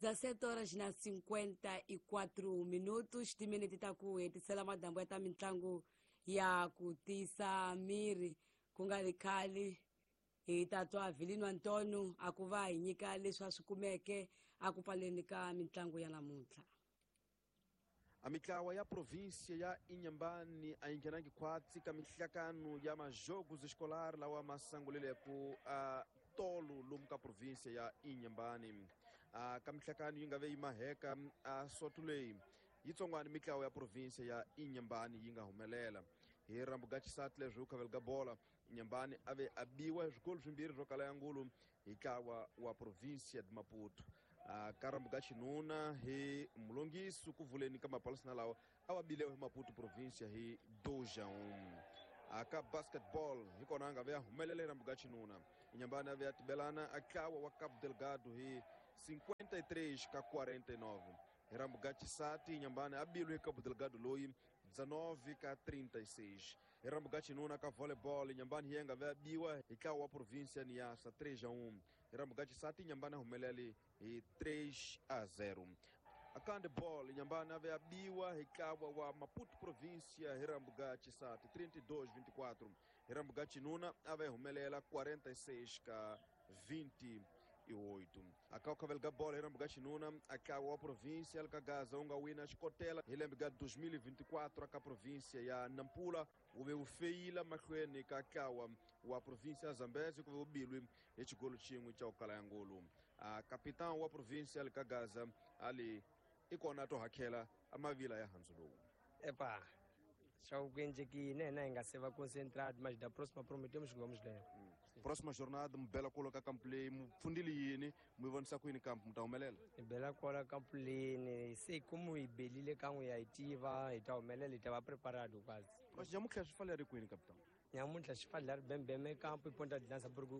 17 horas na 54 minutos, timinete ta ku hetisela madambu ya ta mitlangu ya ku tiyisa miri. Ku nga ri khale hi ta twa Vilino Antonio a ku va hi nyika leswi a swi kumeke a ku pfaleni ka mitlangu ya namuntlha. A mitlawa ya província ya Inhambane a yi nghenangi khwatsi ka mihlakano ya majogos escolar lawa ma sanguleleko a tolo lomu ka província ya Inhambane. A ka mihlakano yi nga ve yi maheka a soto leyi yitsongwana mitlawa ya província ya Inhambane yi nga humelela hi rambuga xisati leswi u ga bola. Inhambane a ve a biwa hi swikolo swimbirhi swo kala ya ngulu hi ntlawa wa província de Maputo. Ka rambuga xinuna hi mulongisi ku vuleni ka mapalisana lawa a wa bilewa hi Maputo província hi 2-1. Ka basketball hi kona a nga ve a humelela hi rambuga xinuna. Inhambane a ve a tibelana a ntlawa wa Cabo Delgado hi 53-49. Hi rambuga xisati Inhambane a bilwe hi Cabo Delgado loyi 19-36. Hi rambuga xinuna ka volleyball Inhambane hi nga ve a biwa hi ntlawa wa província Niassa 3-1. Hi rambuga xisati Inhambane a humelele hi 3-0. Aka handball Inhambane a ve a biwa hi ntlawa wa Maputo província hi rambuga xisati 32-24. Hi rambuga xinuna a ve humelela 46-28. Aka u ga bola hi rambuga xinuna a ntlawa wa província ka Gaza wu nga wina xikotela hi lembe ga 2024 aka província ya Nampula wu ve wu feyila mahlweni ka ntlawa wa província ya Zambezi ku ve wu bilwi hi xigolo xin'we xa ku kala ya ngulu. Capitão wa província ka Gaza ali i kona to hakhela a mavila ya handzu lowu. Epa, xa ku endlekile hina hi nga se va concentrado, mas da próxima prometemos que vamos ganhar. Próxima jornada mu bela kolo ka kampu leyi mu pfundile yini mu yi vonisa ku yini kampu mu ta humelela? Hi bela kwala kampu leyini se como hi belile kan'we ya hi tiva hi ta humelela hi ta va preparado quase. Mas nyamuntlha swi fanele ri kwini capitão? Nyamuntlha xi fanele ri bembeme kampu i ponta de lança porque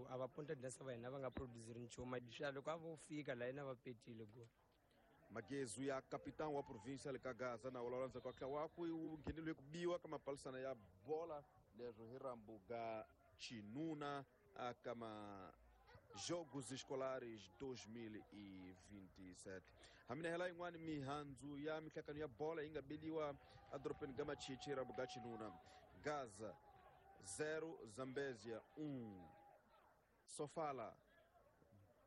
a va ponta de lança va hina va nga produziri nchumu swa loko a vo fika la yena va petile go. Magezu ya capitão wa província le ka Gaza na vulavula ndzhaku ka ntlawa wakwe wu ngheneliwe ku biwa ka mapalisana ya bola leswo hi rambuga xinuna aka ma Jogos Escolares 2027. Hamina hela yin'wani mihandzu ya mihlakano ya bola yi nga beliwa edorobeni ga Machichi rambuga xinuna. Gaza 0 Zambezia 1, Sofala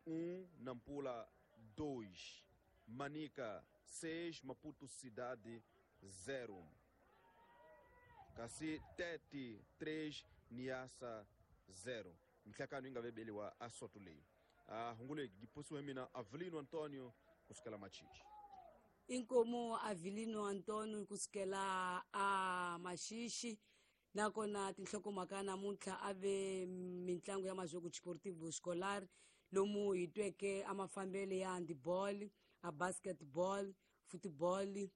1, Nampula 2, Manica 6, Maputo Cidade 0. Kasi Tete 3, Niassa 0. Mihlakano yi nga vebeliwa a soto leyi. Hungu leyi yi posiwe mina Avelino Antonio kusukela Machichi. Inkomo Avelino Antonio kusukela a Machichi. Nakona tinhlokomhaka namuntlha a ve mitlangu ya Majogo Desportivo Escolar lomu hi tweke a mafambele ya handball, a basketball, football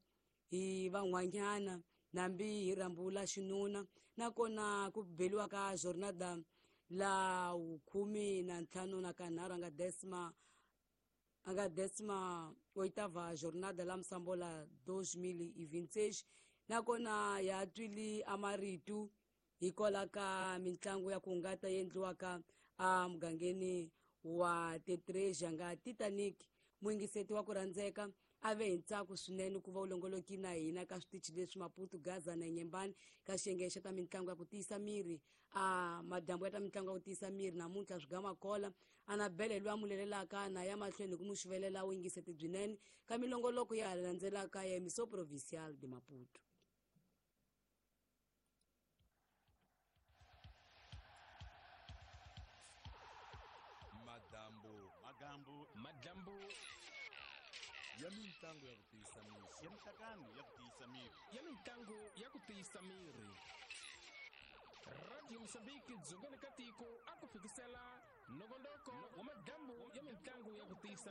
hi van'wanyana nambi hi rambula xinuna. Nakona ku beliwa ka jornada la 15 na kanharhu anga décima oitava jornada la Msambola 2026. Nakona ya twili amaritu hikola ka mitlangu ya ku hungata yi endliwaka a mugangeni wa Tetreja nga Titanic. Muyingiseti wa ku rhandzeka a ve hi ntsako swinene ku va u longoloki na hina ka switichi leswi Maputo, Gaza na Inhambane ka xiyenge xa ta mitlangu ya ku tiyisa miri. A madyambu ya ta mitlangu ya ku tiyisa miri namuntlha swi gama kola Anabele loyi a mulelelaka na ya mahlweni ku mu xuvelela vuyingiseti byinene ka milongoloko ya landzelaka ya Emissão Provincial de Maputo. Madambu, magambu, madambu ya mitlangu ya ku tiyisa miri, ya mihlakano ya ku tiyisa miri, ya mitlangu ya ku tiyisa miri. Radio Mozambique dzongeni ka tiko a ku fikisela nongonoko wa madambu ya mitlangu ya ku tiyisa